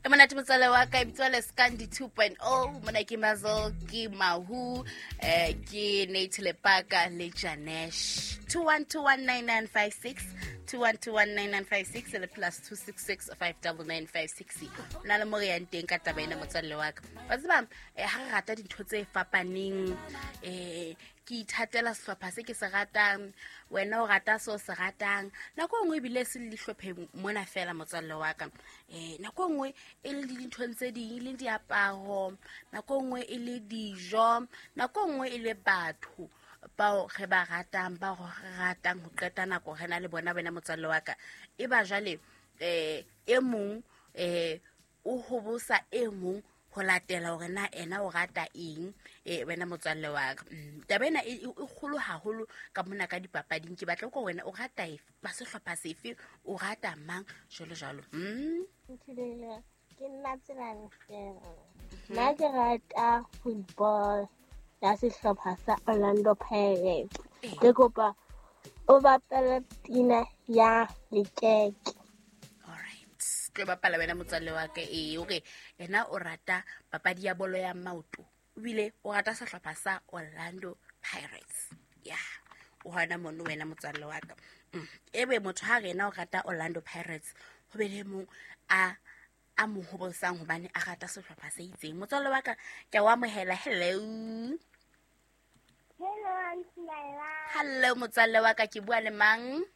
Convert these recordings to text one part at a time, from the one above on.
E monate motswalle wa ka, e bitswa Leskandi 2.0. Mona ke Mazel, ke Mahu, ke Nate Lepaka le Janesh. 21219956, 21219956 le +266 59956. O na le mo re yang teng ka taba ena, motswalle wa ka. Wa tseba, ha re rata dintho tse fapaneng, ke ithatela sehlopha se ke se ratang, wena o rata se o se ratang. Nako e nngwe ebile se le dihlopheng mona fela, motswalle wa ka. Nako e nngwe e le dinthong tse ding, e le diaparo, nako e nngwe e le dijo, nako e nngwe e le batho bao re ba ratang, bao re ratang ho qeta nako re na le bona, wena motswalle wa ka. E ba jwale, e mong, o hobosa e mong ho latela hore na ena o rata eng, wena motswalle wa ka. Taba ena e kgolo haholo ka mona ka dipapading. Ke batla ko wena o rata efe, ba sehlopha sefe, o rata mang, jwalo jwalo. Nthulele, ke nna Tselane Fela. Nna ke rata football ya sehlopha sa Orlando Pirates. Ke kopa o bapale pina ya lekeke. Tlo bapala wena motswalle wa ka. Ee, ore yena o rata papadi ya bolo ya maoto, ebile o rata sehlopha sa Orlando Pirates. Ya, o hona mono wena motswalle wa ka. Ebe motho ha re yena o rata Orlando Pirates, ho be le mong a mo hobosang hobane a rata sehlopha se itseng. Motswalle wa ka, ke a o amohela. Hello. Hello, Aunty Laila. Hello, motswalle wa ka, ke bua le mang?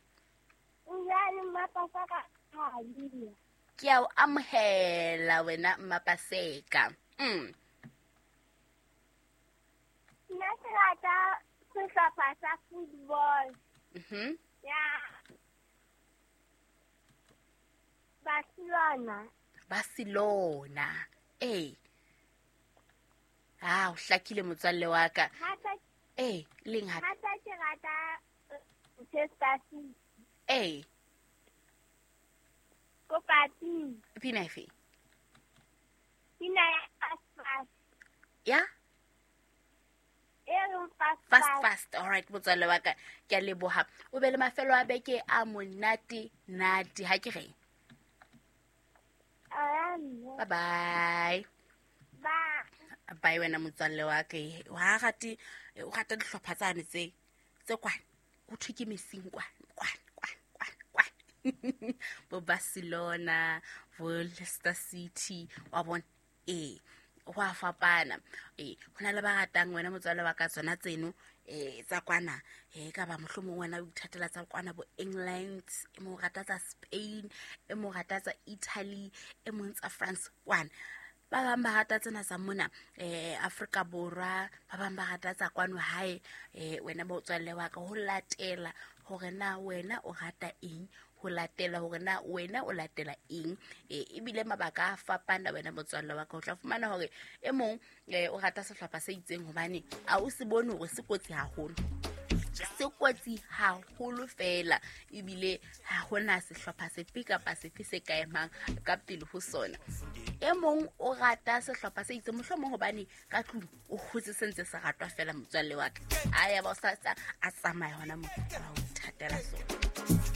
O bua le Mmapaseka Khalia. Ke a o amohela wena Mmapaseka. Nna ke rata sehlopha sa football. Ya Barcelona. Barcelona. Ee. Ah, o hlakile motswalle wa ka. Ee, leng hape? Hape ke rata Manchester City. Ee. Kopa pina. Pina efe? Pina ya fast fast. Ya? E reng fast fast. Fast. Fast. All right, motswalle wa ka, ke a leboha. O be le mafelo a beke a monate nate, ha ke reng? Bye Bye bye. Bye. Bye wena motswalle wa ka. Wa rate, o rata dihlopha tsane tse kwana. Ho thwe ke mesing kwana, kwana, kwana, kwana, kwana. Bo Barcelona, bo Leicester City, wa bona? Ee, ho a fapana. Ee, ho na le ba ratang wena motswalle wa ka tsona tseno, tsa kwana. Ka ba mohlomong wena o ithatela tsa kwana bo England, e mong o rata tsa Spain, e mong o rata tsa Italy, e mong tsa France kwana. Ba bang ba rata tsena tsa mona, Afrika Borwa, ba bang ba rata tsa kwano hae. Wena motswalle wa ka, ho latela hore na wena o rata eng, ho latela hore na wena o latela eng. Ebile mabaka a fapana wena motswalle wa ka. O tla fumana hore e mong, o rata sehlopha se itseng hobane a o se bone hore se kotsi haholo. Se kotsi haholo fela, ebile ha hona sehlopha sefe kapa sefe se ka emang ka pele ho sona. E mong o rata sehlopha se itseng mohlomong hobane ka tlung o hotse se ntse se ratwa fela, motswalle wa ka. A ya ba o sa tsa, a tsamaya hona moo, a o ithatela sona.